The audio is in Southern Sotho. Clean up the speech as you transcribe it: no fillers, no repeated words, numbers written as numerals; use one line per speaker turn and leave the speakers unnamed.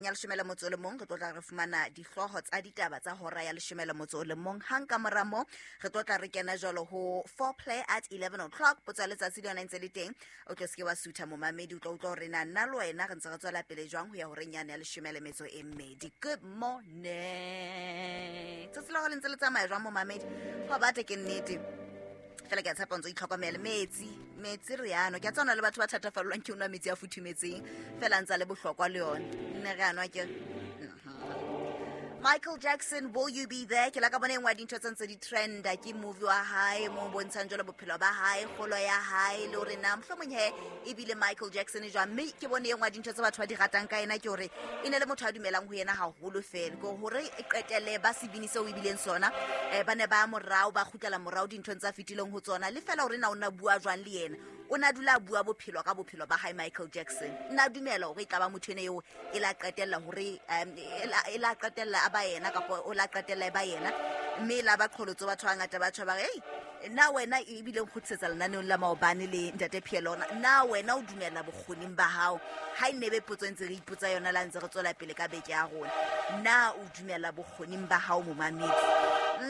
Ya leshome le motso o le mong re tlo tla re fumana dihlooho tsa ditaba tsa hora ya leshome le motso o le mong. Hang ka mora moo re tlo tla re kena jwalo ho foreplay at 11 o'clock. Potso ya letsatsi le yona e ntse le teng, o tlo seke wa sutha momamedi, o tlo utlwa hore na nna le wena re ntse re tswela pele jwang ho ya horeng yane ya leshome le metso e mmedi. Good morning, tsatsi la go le ntse le tsamaya jwang momamedi? Go bata ke nnete fela ke a tshepa ntse o itlhokomele. Metsi, metsi re ano ke a tsana le batho ba thatafallwang ke o nwa metsi a futhumetseng, fela ntse a le bohlokwa le yone nne re anwa ke. Michael Jackson, Will You Be There? Ke la ka bona e nngwe ya dintho tse ntse di trenda ke movie wa hae mo bontshang jalo bophelo ba hae, kgolo ya hae, le hore na mohlomong he ebile Michael Jackson jwang. Mme ke bone e nngwe ya dintho tse batho ba di ratang ka ena ke hore e ne le motho a dumelang ho yena haholo fela, ke hore e qetelle ba sebini seo ebileng sona. Ba ne ba morao ba kgutlela morao dinthong tsa fetileng ho tsona, le fela hore na o na bua jwang le yena, o na dula a bua bophelo ka bophelo ba hae. Michael Jackson nna dumela hore e tla ba motho ene eo e la qetella hore e la qetella a ba yena, kapa o la qetella e ba yena, mme e la ba qholotso. Batho ba ngata ba tjho ba re, ei, na wena ebile nkgutlisetsa lenaneong la maobane le ntate Phielona, na wena o dumela bokgoning ba hao? Ha e nebe potso e ntse re ipotsa yona la ntse re tswela pele ka beke ya rona, na o dumela bokgoning ba hao momamedi?